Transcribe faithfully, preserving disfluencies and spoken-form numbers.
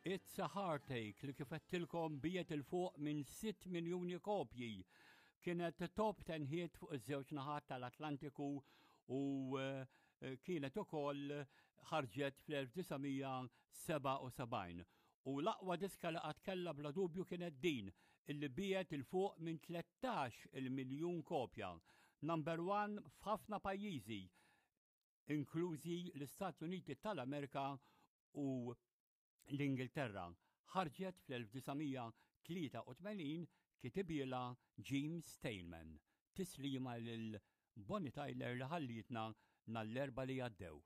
It's a Heartache li kif għedtilkom biegħet 'il fuq minn sitt miljuni kopji. Kienet top ten hit fuq iż-żewġ naħat tal-Atlantiku u eh, kienet ukoll ħarġet fl-elf disa' mija sebgħa u sebgħin. U l-aqwa diska li qatt kellha bla dubju kienet din, illi biegħet 'il fuq minn tlettax il-miljun kopja. Number one f'ħafna pajjiżi, inklużi l-Istati Uniti tal-Amerika u l-Ingilterra. Ħarġet fl-elf disa' mija tlieta u tmenin, kitibhielha Jim Steinman. Tislima lil Bonnie Tyler li ħallietna nhar l-Erbgħa li għaddew.